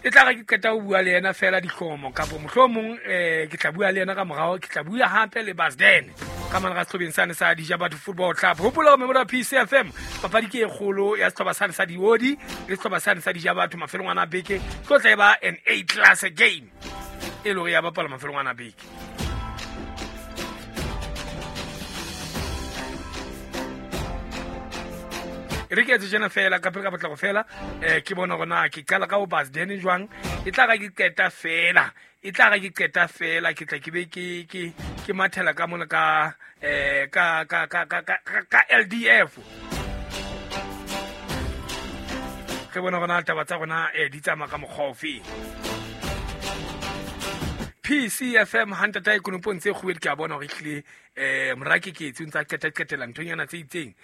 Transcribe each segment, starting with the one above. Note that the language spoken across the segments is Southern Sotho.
E tla re ke qeta ho bua le yena fela dihlomo kapo mohlomong ke tla bua le yena ka morao, ke tla bua hape le Basden ka mane ga sehlobeng sane sa Dija Batho Football Club. Hopola hore Memorial PCFM papadi ke e kgolo ya sehlopha sane sa Diodi le sehlopha sane sa Dija Batho mafelong ana a beke, tlo tla e ba an A class game e le hore ya bapala mafelong ana a beke. Re ke etse jena fela ka pele ka potlako fela, ke bona gore na ke qala ka ho Basden jwang. E tla ga ke qeta fela, e tla ga ke qeta fela ke tla ke be ke mathela ka mona ka ka ka ka ka ka ka LDF. Re bona gore na taba tsa rona di tsamaya ka mokgwa ofe. PCFM hantata e konopong tse kguwedi, ke a bona gore ehlile mora ke ketse o ntse a qeta-qetela nthonyana tse itseng.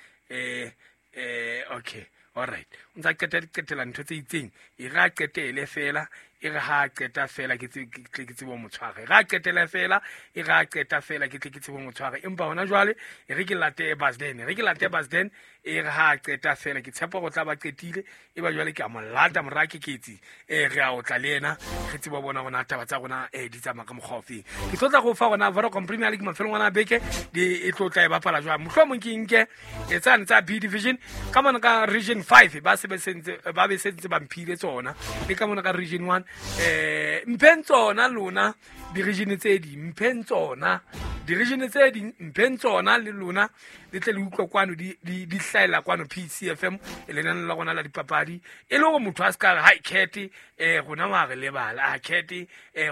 Okay, all right, o ntse a qeta-qetela ntho tse itseng, e re a qetele fela, e re ha a qeta fela ke tle ke tsebe ho mo tshwara, e re a qetele fela, e re a qeta fela ke tle ke tsebe ho mo tshwara. Empa hona jwale e re ke late Basden, e re ke late Basden, e re ha a qeta fela ke tshepa hore o tla ba qetile, e ba jwale ke a mo lata mora Keketsi, re a otla le yena, re tsebe ho bona hore na taba tsa rona di tsamaya ka mokgwa ofeng. Ke tlo tla go fa rona Vodacom Premier League mafelong ana a beke di e tlo tla e bapala jwang. Mohlomong ke nke e tsane tsa B division ka mona ka region 5 ba se sentse ba be sentse ba mphile tsona, le ka mona ka region 1 mpheng tsona lona di-region tse ding, mpheng tsona di-region tse ding, mpheng tsona le lona le tle le utlwe kwano di hlahela kwano PCFM e lenane la rona la dipapadi, e le hore motho a se ka re hai Cat rona wa re lebala, a Cat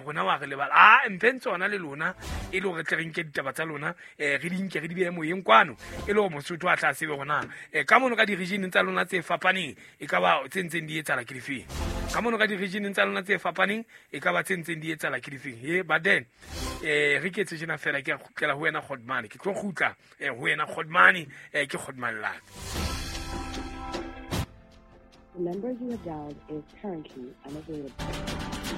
rona wa re lebala. A mpheng tsona le lona e le hore tle re nke ditaba tsa lona, re di nke re di behe moyeng kwano, e le hore Mosotho a tla tsebe hore na ka mono ka di-region tsa lona tse fapaneng e ka ba tse ntseng di etsahala ke difeng, ka mono ka di-region tsa lona tse fapaneng e ka ba tse ntseng di etsahala ke difeng. He but then re ke etse tjena fela, ke a kgutlela ho wena Godmane, ke tlo kgutla ho wena Godmane, ke Godmane la. The number you have dialed is currently unavailable.